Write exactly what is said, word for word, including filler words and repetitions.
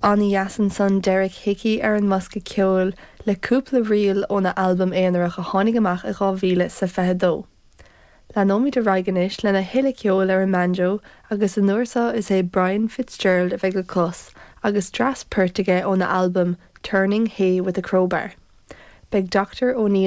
An-dheas ansan Derek Hickey ar an mbosca ceoil le cúpla ríl óna albam aonarach a tháinig amach i dhá mhíle sa fiche dó. Leanfaimid ar aghaidh anois lena thuilleadh ceoil ar an mbanjo agus an uair seo is é Brian Fitzgerald a bheidh le clos agus dreas poirt aige óna albam Turning Hay with a Crowbar. Beidh Dr. O'Neill